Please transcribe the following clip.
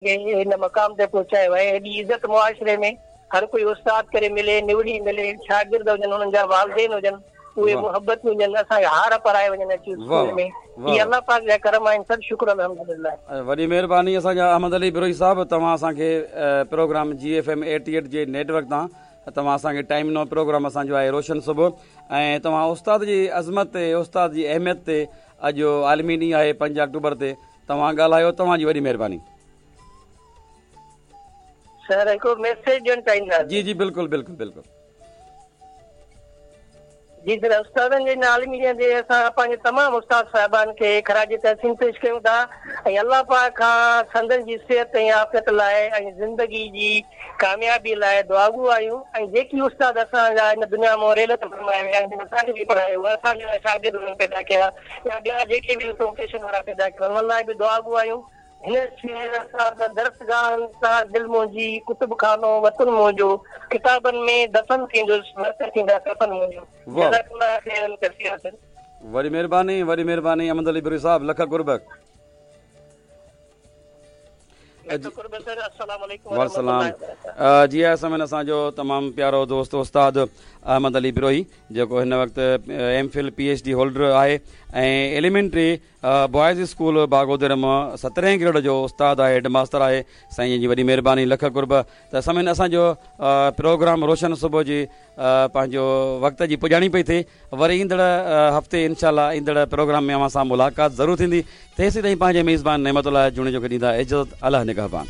کي هن مقام تي پهچايو آهي. ايڏي عزت معاشري ۾ هر ڪوئي استاد ڪري ملي، نوڙي ملي، شاگرد هجن انهن جا والدين هجن اهي محبتون هجن اسان کي هار پارائي وڃن اچي اسڪول ۾ هي الله پاڪ جا ڪرم آهن سڀ شڪر الحمدلله. وڏي مهرباني اسان جا احمد علي بروهي صاحب توهان اسان کي پروگرام جي ايف ايم 88 جي نيٽ ورڪ تان توهان اسان کي ٽائيم ڏنو پروگرام اسان جو آهي روشن صبح ۽ توهان استاد جي عظمت تي استاد جي اهميت تي اڄ عالمي ڏينهن آهي 5 آڪٽوبر تي توهان ڳالهايو توهان جي وڏي مهرباني. سر هڪڙو ميسيج ڏيڻ چاهينداسين. جي جي بلڪل بلڪل بلڪل. جي سر استادن جي ان عالمي ڏينهن تي اسان پنهنجي تمام استاد صاحبان کي خراج تحسين پيش ڪيون ٿا ۽ الله پاڪ کان سندن جي صحت ۽ عافيت لاء ۽ زندگي جي ڪاميابي لاء دعاگو آهيون ۽ جيڪي استاد اسان جا هن دنيا مان رحلت فرمائي ويا جن اسان کي به پڙهايو اسان جا شاگرد انهن پيدا ڪيا يا ٻيا جيڪي به پروفيشن وارا پيدا ڪيا انهن لاء به دعاگو آهيون. هن شعر سان ته درسگاهن سان دل منهنجي، ڪتب خانو وطن منهنجو، ڪتابن ۾ دفن ٿيندس، ورق ٿيندا ڪفن منهنجو. جزاڪ الله خيرا ڪثيرا سر. وڏي مهرباني وڏي مهرباني احمد علي بروهي صاحب لک قرب. والسلام جي آء سامعين اسان جو تمام پيارو دوست استاد احمد علي بروهي جيڪو هن وقت M Phil P H D holder آهي ۽ ايليمينٽري بوائز اسڪول باگودر مان سترهين گريڊ جو استاد آهي هيڊ ماستر آهي سائين جي وڏي مهرباني لک قرب ته سامعين اسان جو پروگرام روشن صبح جي پنهنجو وقت جي پڄاڻي پئي ٿئي وري ايندڙ هفتي انشاء الله ايندڙ پروگرام ۾ اوهان سان ملاقات ضرور ٿيندي تيسين تائين پنهنجي ميزبان نعمت الله جوڻيجو کي ڏيندا اجازت الله نگهبان.